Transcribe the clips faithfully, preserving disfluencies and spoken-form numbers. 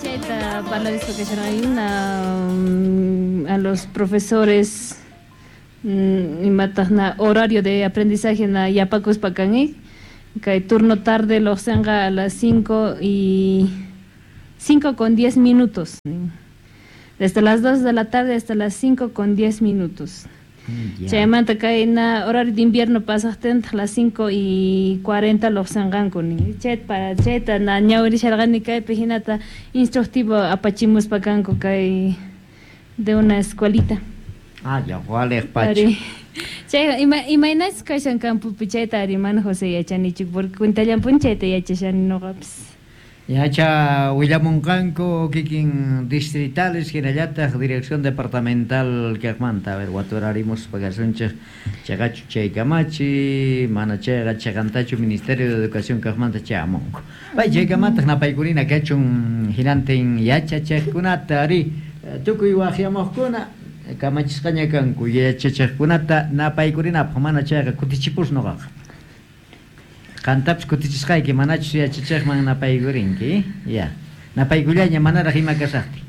Chayta parlarispa kasharqayuna a los profesores imataq na horario de aprendizaje na yapakuspa kan, kay turno tarde lluqsinqa a las cinco y cinco con diez minutos. Desde las dos de la tarde hasta las cinco con diez minutos. Chaymanta kay na horario de invierno pasaqtintaq las cinco y cuarenta lluqsinqanku nin. Chayta para chayta na ñawirisharqani kaypi hinata instructivo apachimuspa kanku kay de una escuelita. Ah, ya, waliq pacha. Chay ima imaynachus kashan campopi chayta ari mana José yachanichu porque cuentallanpuni chayta yachashani nuqapis. Yacha willamunqanku kikin distritales hinallataq dirección departamental kaqmanta, a ver, waturarimuspa kasunchik chaqachu chay kamachi, mana chayqa chaqantachu Ministerio de Educación kaqmanta chayamunku. Pay chaykamataq napaykurina kachun hinantin yachachiqkunata ari tukuy waqyamuqkuna kamachisqaña kanku yachachiqkunata napaykurinapaq mana chayqa kutichipus nuqaqa. Qantapis kutichisqayki manachus yachachiqman napaykurinki, ya. Napaykullaña manaraq ima kasaqtin.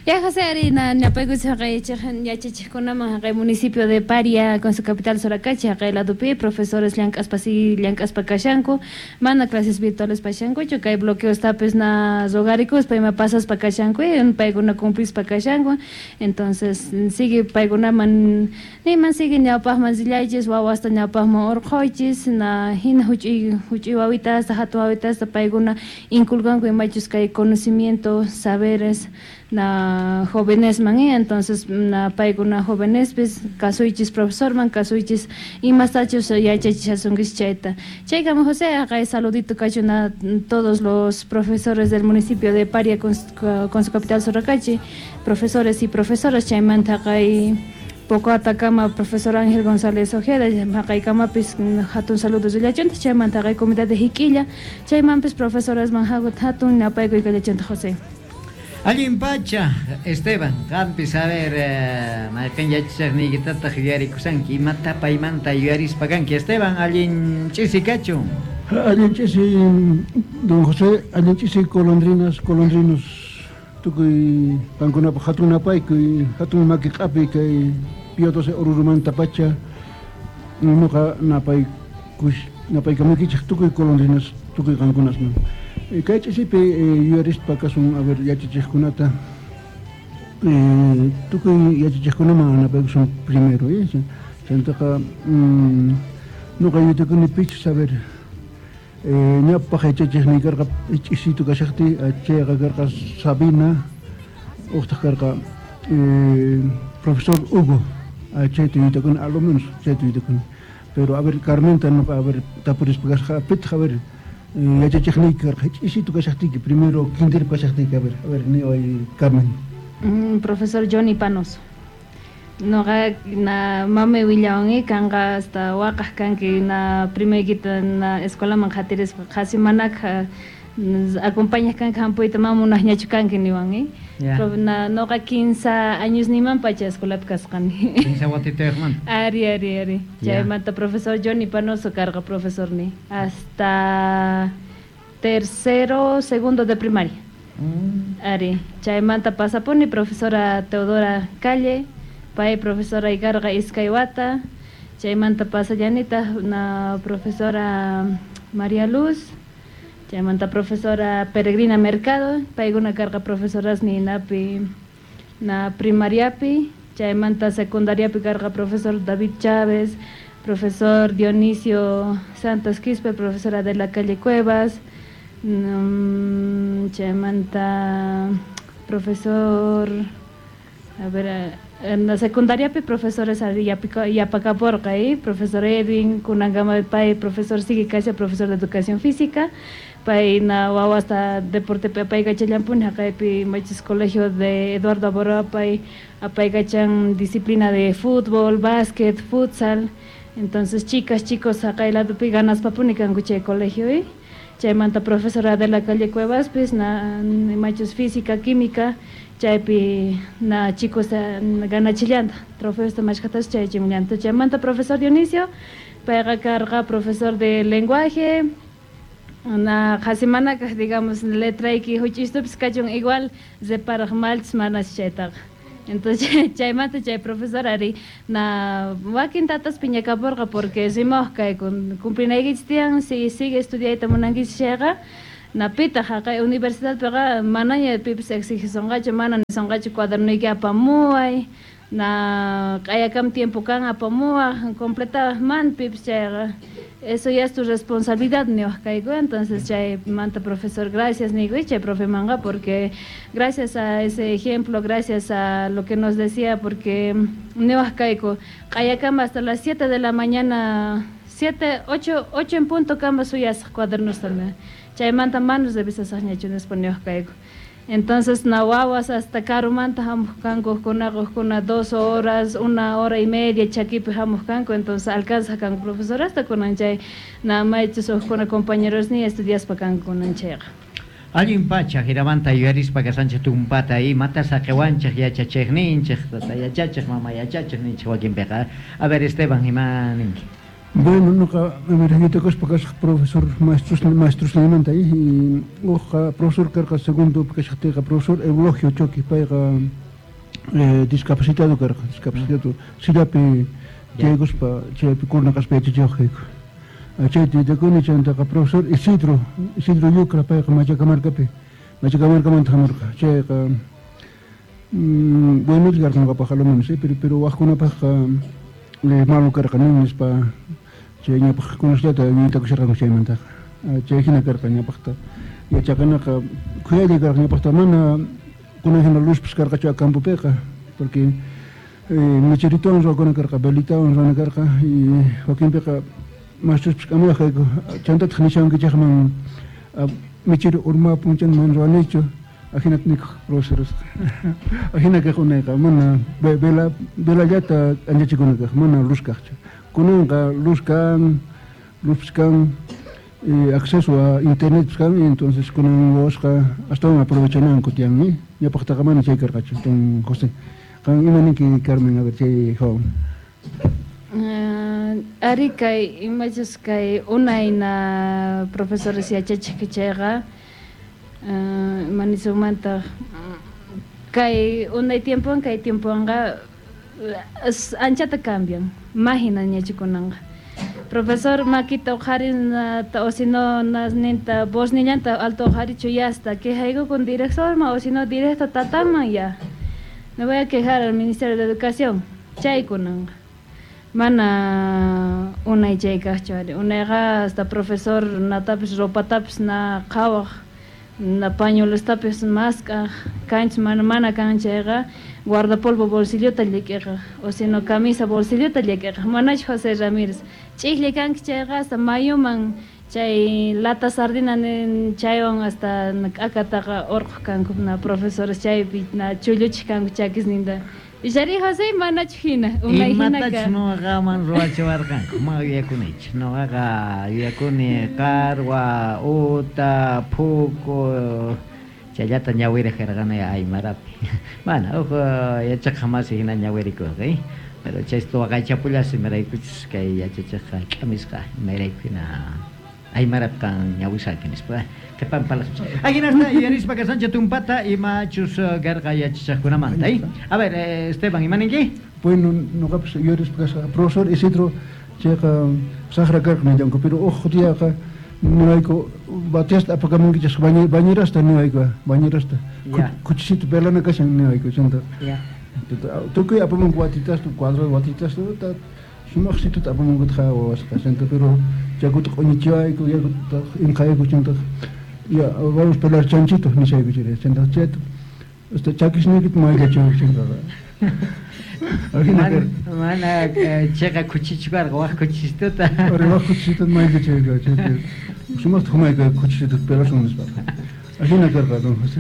Ya José ari na napaykusqa yachachiqkunaman haqay municipio de Paria con su capital Soracachi haqay ladopi profesores llank'aspa si llank'aspa kashanku mana clases virtuales pashankuchu kay bloqueostapis na rogarikuspa ima pasaspa kashanku paykuna cumplispa kashanku entonces sigue paykunaman niman sigue ñawpaqman rillaychis wawasta ñawpaqman urqhuychis na hina huch'uy huch'uy wawitasta hatun wawitasta paykuna inculcanku imachus kay conocimiento saberes na jóvenes man, entonces na paykuna jóvenespis kasuychis profesorman kasuychis imastachus yachachishasunkichis chayta. Chaykama José haqay saludito kachun a todos los profesores del municipio de Paria con, con su capital Soracachi, profesores y profesoras chaymanta haqay poco atakama profesor Ángel González Ojeda haqaykamapis hatun saludos rillachunta chaymanta haqay comunidad de Jiquilla chaymanpis profesores man hatun napaykuy kallachunta José. Allin pacha, Esteban, qampis a ver, mayqin yachachiqniykitataq yuyarikusanki, imata paymanta yuyarispa kanki, Esteban, allin ch'isi kachun. Allin ch'isi, don José, allin ch'isi golondrinas, golondrinos, tukuy qankunapaq hatun napaykuy, hatun maki q'api kay Pío doce Orurumanta pacha, nuqa napaykush, napaykamuykichik tukuy golondrinas, tukuy qankunasman. Kay ch'isipi yuyarispa kasun, a ver, yachachiqkunata, tukuy yachachiqkunaman napaykusun primero, chantaqa nuqa yuyaytakuni pichus, a ver, ñawpaq yachachiqniy karqa ch'isitu kashaqtiy, chayqa karqa Sabina, uqtaq karqa profesor Hugo, chayta yuyaytakuni, a lo menos chayta yuyaytakuni. Pero a ver, Carmenta nuqa, a ver, tapurispa kasqa, pitaq, a ver, yachachiqniyki karqa ch'isitu kashaqtiyki primero kinderpi kashaqtiyki, a ver, a ver, niway Carmen. Mm, profesor Johnny Panoso. Nuqa na mamay willawan kanqa hasta waqaq kanki na primaykita na escuelaman qhatirispa qhasi manakaq acompañaq kanki hampuyta mana munaqñachu kanki niwan. Na nuqa quince años niman pacha escuelapi kasqani. Quince watitayuqmanta. Ari, ari, ari. Chaymanta profesor Johnny Panoso karqa profesorniy hasta tercero, segundo de primaria. Mm. Ari, chaymanta pasapuni profesora Teodora Calle, pay profesora ikarqa iskay wata, chaymanta pasallanitaq na profesora María Luz, chaymanta profesora Peregrina Mercado, paykuna karqa profesoras ninapi na primariapi, chaymanta secundariapi karqa profesor David Chávez, profesor Dionisio Santos Quispe, profesora de la calle Cuevas, um, chaymanta profesor, a ver, en la secundaria profesores yapakaporqa, ¿eh? Profesor Edwin kunankama pay profesor sigue kasha profesor de educación física, pay na wawasta deporte apaykachallanpuni haqaypi machis colegio de Eduardo Abaroa pay apaykachan disciplina de fútbol, básquet, futsal, entonces chicas, chicos haqay ladopi ganaspapuni kanku chay colegio, ¿eh? Chaymanta profesora de la calle Cuevas pues na machos física, química, chaypi na chicos ganachillanta trofeosta mashkhatas chayachimllanta. Chaymanta profesor Dionisio payqa karqa profesor de lenguaje, Na qhasi manakaq, digamos, letrayki huch'istupis kachun igual reparaq malchus manas chaytaqa. Entonces chaymanta chay profesor ari na wakin tatas piñakapurqa porque rimawaq kayku cumplinaykichis tiyan si sigue estudiayta munankichis chayqa na pitaq haqay universidadpiqa manaña pipis exigisonqachu mana nisonqachu cuadernuyki apamuway na q'ayakam tiempo kan apamuwaq completawaq man pipis chayqa eso ya es tu responsabilidad niwaq kayku. Entonces chay manta profesor gracias niyku chay profe manqa porque gracias a ese ejemplo, gracias a lo que nos decía, porque niwaq kayku q'ayakama hasta las siete de la mañana, siete, ocho, ocho en punto kama suyasaq cuadernosta chaymanta manos revisasaqñachu nispa niwaq kayku. Entonces na wawas hasta karumanta hamuq kanku hukkunaqa hukkuna dos horas, una hora y media chakipi hamuq kanku, entonces alcanza kanku profesor hasta kunan chay na maychus hukkuna compañeros ni estudiaspa kanku kunan chayqa. Allin pacha jiramanta yuyarispa kasanchik tumpata imata saqiwanchik yachachiqninchik tata yachachiq mama yachachiq ninchik wakinpiqa. A ver, Esteban, ima ninki? Bueno, nuqa yuyaytakuspa kasaq profesor maestros maestros nimanta y uqa profesor karqa segundo kashaqtiyqa profesor Eulogio Choki payqa eh, discapacitado karqa, discapacitado sillapi tiyaykuspa chaypi kurna kaspa yachachiwaq kayku. Chayta yuyaytakuni chaymantaqa profesor Isidro Isidro Yucra payqa Machacamarcapi Machacamarcamanta hamurqa chayqa mm, bueno karqa ñuqapaq a lo menos, pero pero waqkunapaqqa malo karqa nin nispa chay ñapaq kunasllata yuyaytakusharqanku chaymantaqa chay hina karqa ñapaqta yachaqanaqa khuyaylla karqa ñapaqta mana kunan hina luzpis karqachu campopiqa porque mecheritowan ruwakuna karqa velitawan ruwana karqa y wakinpiqa maestros k'amuwaq kayku chantataq nishawankichikman mechero urmapun chanta mana ruwanichu ajinata nikuq profesoresqa ajina kaq unayqa mana vela velallata k'anchachikuna kaq mana luz kaqchu kunanqa luz kan luzpis kan y acceso a internet kan y entonces kunan wawasqa astawan aprovechananku tiyan ñawpaqtaqa mana chay karqachu don José qan ima ninki Carmen a ver chay hawan. Ari kay imachus kay unay na profesores yachachiq chayqa ima nisunmantaq kay unay tiempowan kay tiempowanqa anchata cambian mahinañachu kunanqa profesor makita uqharin o si no ninta voznillanta alto uqharichu ya hasta quejayku directorman o si no directo tataman ya me voy a quejar al Ministerio de Educación chay kunanqa mana unay chay kaqchu ari unayqa hasta profesor natapis ropatapis na qhawaq na pañuelostapis mask'aq kanchis mana mana kan chayqa guardapolvo bolsillota llik'iqaq o si no camisa bolsillota llik'iqaq manachu José Ramírez ch'iklla kanki chayqa hasta mayuman chay lata sardina chaywan hasta k'akataqa urquq kanku na profesores chaypi na chulluchiq kanku chakisninta. Illari José manachu hina unay hina Imatachus nuqaman ruwachiwarqanku ma yuyakunichu nuqaqa yuyakuni qarwa uta phuku chayllata ñawiraq karqani aymarapi mana huk yachaqqa masi hina ñawirikurqa pero chaysta waqaychapullas imaraykuchus kay yachachiqqa k'amisqa imarayku hina aymarapi qan ñawisaqki nispa qhipan palacios. Ajinasta yuyarispa kasancha tumpata imachus karqa yachachiqkunamanta. A ver, Esteban, ima ninki? Bueno, nuqapas yuyarispa kasqa profesor Isidro chayqa saqra karqa nillanku pero uj diaqa niwayku batiasta apakamunkichis bañerasta niwayku bañerasta kuchisito velana kashan niwayku chanta tukuy apamunku watitasta cuadrado watitasta sumaqsituta apamunkutaq wawasqa chanta pero yakuta q'uñichiwayku yakuta inqayku chanta ya vamos pelar chanchito nishayku chay chanta chayta hasta chakisniykita mayllachiwayku chantaqa. Mana mana chayqa kuchichu karqa waq kuchisituta Ari waq kuchisituta mayllachiwayku chanta sumaqta humayku kuchisituta pelasun nispaqa ajina karqa don José.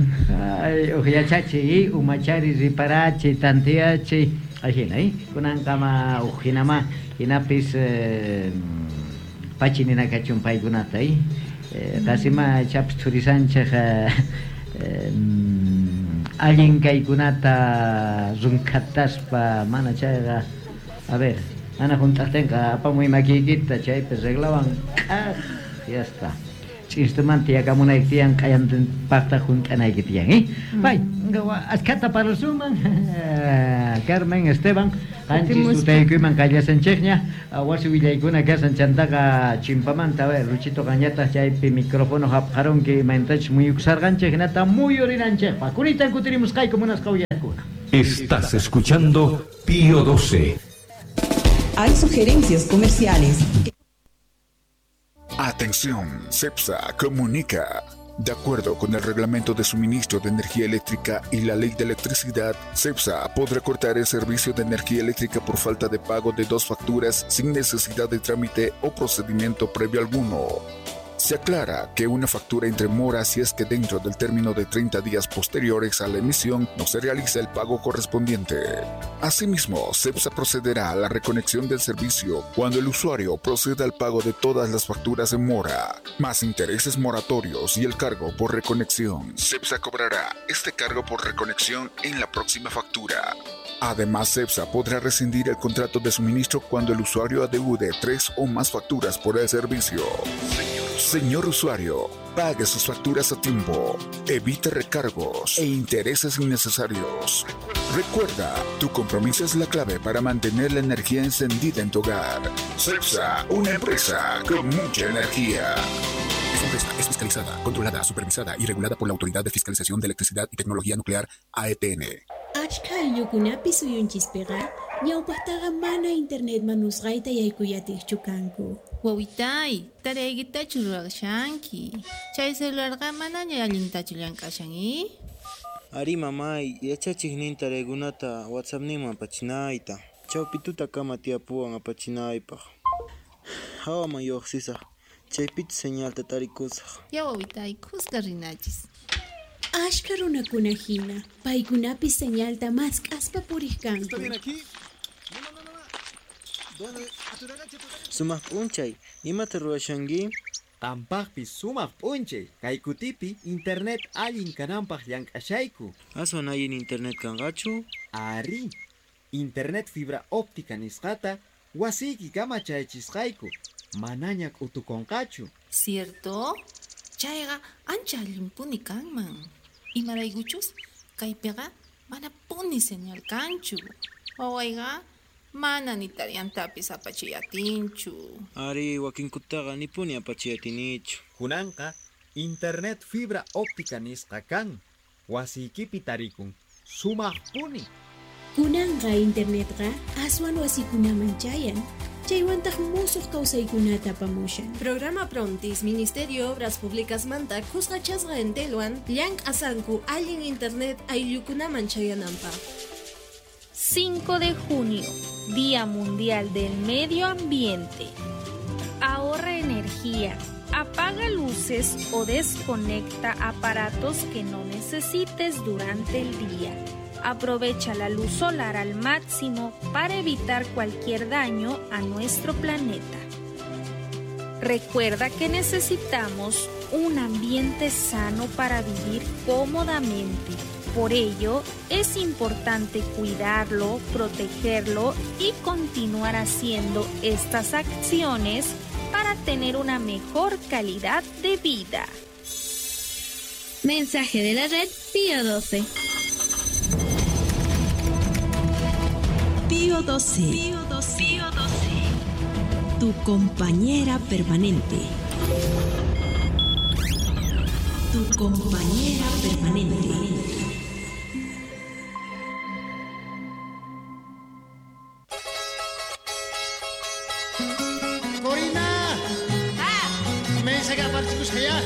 Ay uj yachachiy umachari riparachiy tantiyachiy ajina kunankama uj hinama hinapis pachi nina kachun paykunata qasima chapis thurisanchik allin kaykunata runkhataspa mana chayqa a ver mana hunt'aqtinqa apamuy makiykita chaypi reglawan k'aj ya está. Ch'istumanta yakamunayki tiyan, q'ayantinpaqta hunt'anayki tiyan, eh? Pay, achkhata parlasunman, Carmen, Esteban, qanchis tutaykuyman qallasanchikña, wasi willaykuna kasan chantaqa chimpamanta, a ver, Luchito qanñataq chaypi micrófono hapqarunki imaynatachus muyukusarqanchik hinata muyurinanchikpaq. Kunitan kutirimusqayku munasqa uyaqkuna. Estás escuchando Pío doce. Hay sugerencias comerciales. Atención, CEPSA comunica. De acuerdo con el Reglamento de Suministro de Energía Eléctrica y la Ley de Electricidad, CEPSA podrá cortar el servicio de energía eléctrica por falta de pago de dos facturas sin necesidad de trámite o procedimiento previo alguno. Se aclara que una factura entre mora si es que dentro del término de treinta días posteriores a la emisión no se realiza el pago correspondiente. Asimismo, CEPSA procederá a la reconexión del servicio cuando el usuario proceda al pago de todas las facturas en mora, más intereses moratorios y el cargo por reconexión. CEPSA cobrará este cargo por reconexión en la próxima factura. Además, CEPSA podrá rescindir el contrato de suministro cuando el usuario adeude tres o más facturas por el servicio. Señor usuario, pague sus facturas a tiempo, evite recargos e intereses innecesarios. Recuerda, tu compromiso es la clave para mantener la energía encendida en tu hogar. CEPSA, una empresa con mucha energía. Esta empresa es fiscalizada, controlada, supervisada y regulada por la Autoridad de Fiscalización de Electricidad y Tecnología Nuclear, A E T N. Achka ayllukunapi suyunchispiqa ñawpaqtaqa mana internet manusqayta yaykuyatiqchu kanku. Wawitay, taraykitachu ruwashanki. Chay celularqa manaña allintachu llank'ashan, i? Ari mamay, yachachiqnin taraykunata WhatsAppninman apachinayta. Chawpituta kama tiyapuwan apachinaypaq. Hawaman lluqsisaq, chaypichu señalta tarikusaq. Ya wawitay, kuska rinachis. Ashka runakuna hina, paykunapis señalta mask'aspa puriq kanku. ¿Está bien aquí? No, no, no, no. ¿Dónde? Sumaq p'unchay, imata ruwashanki? Qampaqpis sumaq p'unchay, kay kutipi internet allin kananpaq llank'ashayku. Aswan allin internet kanqachu? Ari, internet fibra óptica nisqata wasiyki kama chayachisqayku, manaña k'utukunqachu. Cierto? Chayqa ancha allinpuni kanman. Imaraykuchus kaypiqa manapuni señal kanchu. Wawayqa mana ni tariyantapis apachiyatinchu. Ari, wakinkutaqa nipuni apachiyatinichu. Kunanqa internet fibra óptica nisqa kan. Wasiykipi tarikun. Sumaqpuni. Kunanqa internetqa aswan wasikunaman chayan. Chaywantaq musuq kawsaykunata apamushan. Programa Prontis, Ministerio de Obras Públicas manta kusqachasqa entelwan llank'asanku allin internet ayllukunaman chayananpaq. cinco de junio, Día Mundial del Medio Ambiente. Ahorra energía, apaga luces o desconecta aparatos que no necesites durante el día. Aprovecha la luz solar al máximo para evitar cualquier daño a nuestro planeta. Recuerda que necesitamos un ambiente sano para vivir cómodamente. Por ello, es importante cuidarlo, protegerlo y continuar haciendo estas acciones para tener una mejor calidad de vida. Mensaje de la red Pío doce. Pío doce. Pío doce. Pío doce. Tu compañera permanente. Tu compañera permanente. ¡Corina! ¡Ah! ¡Me saca para chicos allá!